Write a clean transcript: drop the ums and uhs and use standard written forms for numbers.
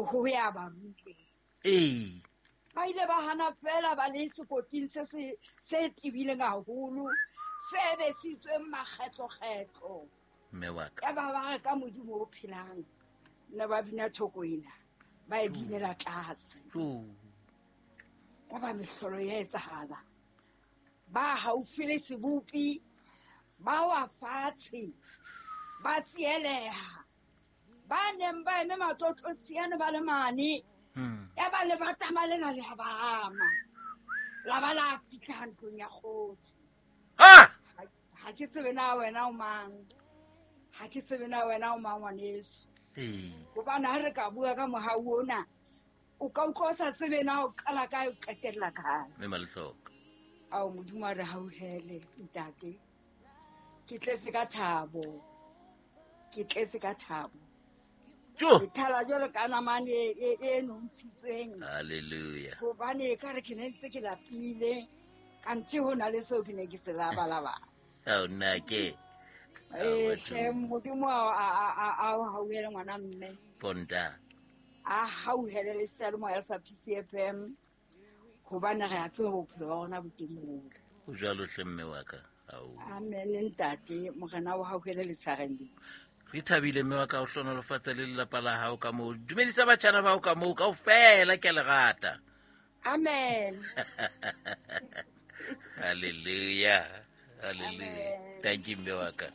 Ho ya ba ruteng. Ee. Ba ile ba hana fela ba le sekoting se se se tebileng haholo, se besitsweng makgetlo-kgetlo. Mme wa ka. Ya ba ba re ka Modimo o phelang, ne ba bina thoko ena, ba e binela tlase. Ya ba mehlolo ya etsahala. Ba haufi le sebopi, ba wa fatshe, ba tsieleha. Ba neng ba eme matlotlosiane ba le mane, ya ba le batama lena le ba ama. La ba la fihla ntlong ya kgosi. Ha! Ha ke tsebe na wena o mang. Ha ke tsebe na wena o mang ngwaneso. Hobane ha re ka bua ka mohau ona, o ka utlwa o sa tsebe na o qala kae o qetella kae. Mme Malehloka. Ao Modimo a re hauhele ntate. Ke tletse ka thabo. Ke tletse ka thabo. Jo. Ke thala jwalo ka namane e nontshitsweng. Hallelujah. Hobane e ka re ke ne ntse ke lapile, kanthe ho na le seo ke ne ke se labalaba. Ao nna ke. Hle, Modimo a o hauhele ngwana mme. Ponta. A hauhele le seyalemoya sa PCFM, hobane re a tseba bophelo ba rona bo teng moo. O jwalo hle mme wa ka. Ao. Amen ntate, Morena o hauhele letshareng le. Re thabile mme wa ka, o hlonolofatse le lelapa la hao ka moo. Dumedisa batjhana ba hao ka moo kaofela, ke a le rata. Amen. Hallelujah. Hallelujah. Amen. Thank you mme wa ka.